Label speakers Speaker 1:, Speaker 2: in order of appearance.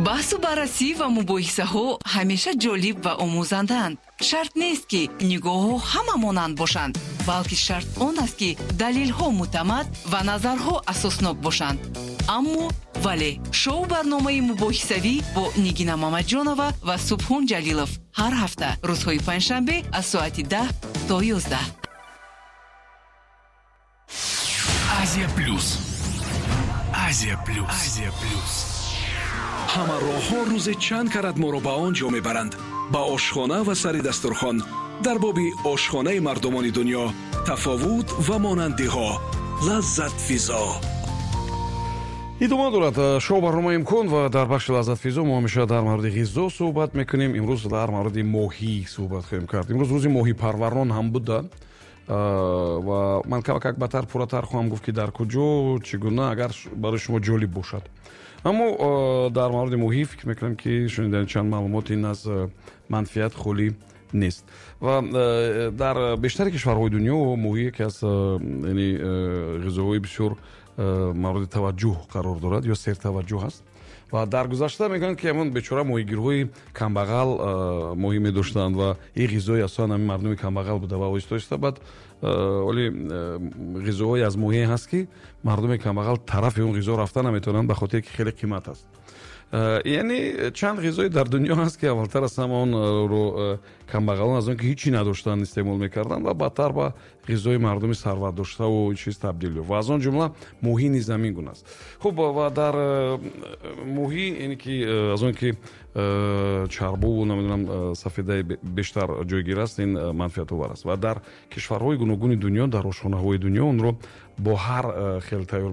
Speaker 1: Баҳсу баррасӣ ва мубоҳисаҳо ҳамеша ҷолиб ва омӯзандаанд. Шарт нест, ки нигоҳҳо ҳама монанд бошанд, балки шарт он аст, ки далелҳо мӯътамад ва назарҳо асоснок бошанд. Аммо вале шоу барномаи мубоҳисавӣ бо Нигина Мамаҷонова ва Субҳон Ҷалилов ҳар ҳафта рӯзҳои панҷшанбе аз соати 10 то 11.
Speaker 2: Азия Плюс. Азия Плюс. Азия Плюс.
Speaker 3: Ҳама роҳҳо рӯзе чанд карат моро ба он ҷо мебаранд, ба ошхона ва сари дастурхон. Дар боби ошхонаи мардумони дунё, тафовут ва монандиҳо. Лаззатфизо.
Speaker 4: Идома дорад шоу барномаи «Имкон» ва дар бахши «Лаззатфизо» мо ҳамеша дар мавриди ғизо суҳбат мекунем. Имрӯз дар мавриди моҳӣ суҳбат хоҳем кард. Имрӯз рӯзи моҳипарварон ҳам буда ва ман камакак батар, пурратар хоҳам гуфт, ки дар куҷо, чӣ гуна, агар барои шумо ҷолиб бошад. Аммо дар мавриди моҳӣ фикр мекунам, ки шунидани чанд маълумот ин аз манфиат холӣ нест. Ва дар бештари кишварҳои дунё моҳӣ яке аз яъне ғизоҳои бисёр мавриди таваҷҷӯҳ қарор дорад ё сертаваҷҷӯҳ аст. Ва дар гузашта мегӯянд, ки ҳамон бечора моҳигирҳои камбағал моҳӣ медоштанд ва ин ғизои аслан ҳамин мардуми камбағал буда. Ва оҳиста оҳиста баъд оли ғизоҳое аз моҳие ҳаст, ки мардуми камбағал тарафи он ғизо рафта наметавонанд, ба хотире ки хеле қимат аст. Яъне чанд ғизое дар дунё ҳаст, ки аввалтар аз ҳама онро камбағалон аз он ки ҳичи надоштанд истеъмол мекарданд ва баъдтар ба ғизои мардуми сарватдоштаву чиз табдил ёфт. Ва аз он ҷумла моҳӣ низ ҳамин гуна аст. Хуб, ва дар моҳӣ, яъне ки аз он ки чарбуву, намедонам, сафедаи бештар ҷойгир аст, ин манфиатовар аст. Ва дар кишварҳои гуногуни дунё, дар ошхонаҳои дунё онро бо ҳар хел тайёр